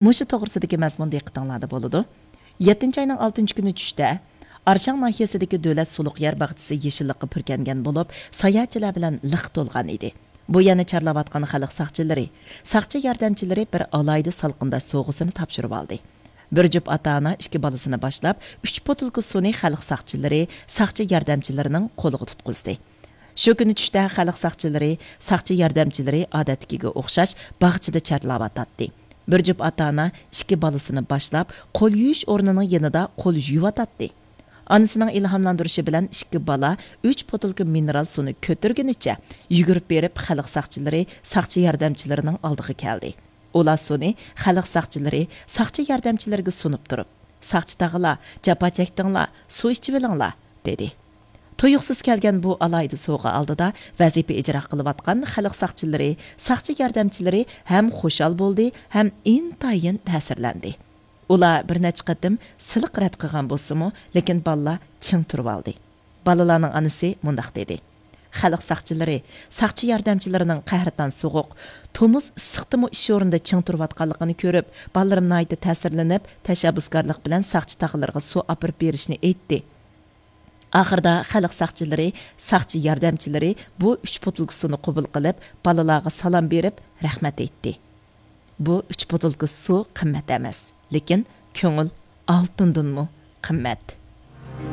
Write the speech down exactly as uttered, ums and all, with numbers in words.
مۇشۇ توغرىسىدىكى مەزمۇن دىققىتىڭلاردا بولىدۇ. يەتتىنچى ئاينىڭ ئالتىنچى كۈنى چۈشتە ئارشاڭ ناھىيەسىدىكى دۆلەت سۇلۇق يەر باغچىسى يېشىللىققا پۈركەنگەن بولۇپ، ساياھەتچىلەر بىلەن لىق تولغان ئىدى. بۇ يەرنى چارلاۋاتقان خەلق ساقچىلىرى، ساقچى ياردەمچىلىرى بىر ئالاھىدە سالقىنداش سوۋغىسىنى تاپشۇرۇۋالدى. بىر جۈپ ئاتا-ئانا ئىككى بالىسىنى باشلاپ، ئۈچ بوتۇلكا سۇنى خەلق ساقچىلىرى، ساقچى ياردەمچىلىرىنىڭ قولىغا تۇتقۇزدى. شۇ كۈنى چۈشتە خەلق ساقچىلىرى، ساقچى ياردەمچىلىرى ئادەتتىكىگە ئوخشاش باغچىدا چارلاۋاتاتتى. بىر جۈپ ئاتا-ئانا ئىككى بالىسىنى باشلاپ، قول يۇيۇش ئورنىنىڭ يېنىدا قول يۇيۇۋاتاتتى. ئانىسىنىڭ ئىلھاملاندۇرۇشى بىلەن ئىككى بالا ئۈچ بوتۇلكا مىنېرال سۇنى كۆتۈرگىنىچە يۈگۈرۈپ بېرىپ، خەلق ساقچىلىرى، ساقچى ياردەمچىلىرىنىڭ ئالدىغا كەلدى. ئۇلار سۇنى خەلق ساقچىلىرى، ساقچى ياردەمچىلىرىگە سۇنۇپ تۇرۇپ، «ساقچى تاغىلار، جاپا چەكتىڭلار، سۇ ئىچىۋېلىڭلار» دېدى. تۇيۇقسىز كەلگەن بۇ ئالاھىدە سوۋغا ئالدىدا ۋەزىپە ئىجرا قىلىۋاتقان خەلق ساقچىلىرى، ساقچى ياردەمچىلىرى ھەم خۇشال بولدى، ھەم ئىنتايىن تەسىرلەندى. ئۇلار بىر نەچچە قېتىم سىلىق رەت قىلغان بولسىمۇ، لېكىن بالىلار چىڭ تۇرۇۋالدى. بالىلارنىڭ ئانىسى مۇنداق دېدى: «خەلق ساقچىلىرى، ساقچى ياردەمچىلىرىنىڭ قەھرىتان سوغۇق، تومۇز ئىسسىقتىمۇ ئىش ئورنىدا چىڭ تۇرۇۋاتقانلىقىنى كۆرۈپ، بالىلىرىم ناھايىتى تەسىرلىنىپ، تەشەببۇسكارلىق بىلەن ساقچى تاغىلىرىغا سۇ ئاپىرىپ بېرىشنى ئېيتتى.» ئاخىرىدا خەلق ساقچىلىرى، ساقچى ياردەمچىلىرى بۇ ئۈچ بوتۇلكا سۇنى قوبۇل قىلىپ، بالىلارغا سالام بېرىپ، رەھمەت ئېيتتى. بۇ ئۈچ بوتۇلكا سۇ قىممەت ئەمەس، لېكىن كۆڭۈل ئالتۇندىنمۇ قىممەت.